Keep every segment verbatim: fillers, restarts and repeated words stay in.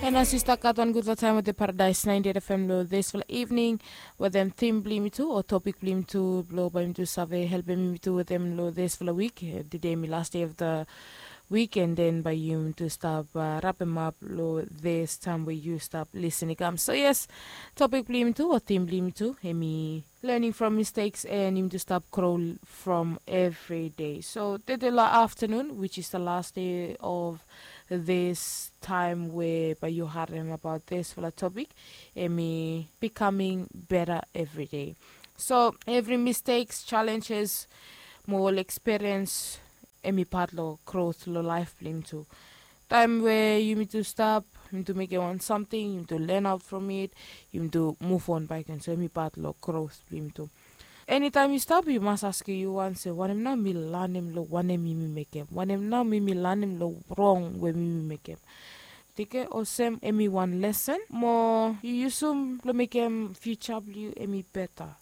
And as yu stap gat wan gudfala taem wetem Paradise ninety-eight F M lo disfala evening, wetem theme blong yumi tu o topik blong yumi tu blo bae yumi tu save helpem yumi tu wetem lo disfala wik. Tede hemi last day of the week, and then bae yumi tu stap uh, rapemap lo this taem we yu stap lisin i kam. So yes, topik blong yumi tu o theme blong yumi tu hemi learning from mistakes and yumi tu stap grow from every day. So tede lo afternoon, which is the last day of this time where bae yu harem about disfala topik, hemi becoming better every day. So every mistakes, challenges, mo ol experience, hemi pat lo growth lo laef blong yumi tu. Taem we yumi tu stap, yumi tu mekem wan samting, yumi tu learn out from it, yumi tu move on baeken. So hemi pat lo growth blong yumi tu. Enitaem yu stap, yu mas askem yu wan se, wanem nao mi lanem lo wanem yumi mekem? Wanem nao mi mi lanem lo rong we mi mi mekem? Tike olsem hemi wan lesen mo yu yusum blo mekem future blong yu hemi beta.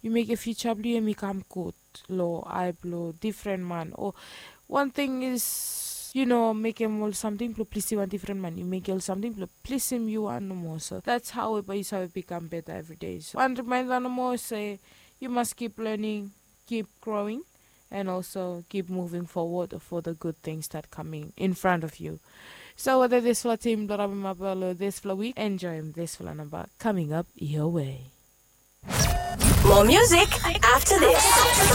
Yu mekem future blong yu hemi kam gud lo ae blo difren man. O wan ting is, yu no mekem ol samting blo plisim wan difren man. Yu mekem ol samting blo plisim yu wan nomo. So that's how we bae yu save become better every day. So wan reminder nomo se yu mas keep learning, keep growing, and also keep moving forward for the good things that coming in front of you. So wetem disfala theme blo rapemap lo disfala wik, enjoem disfala namba coming up your way. More music after this.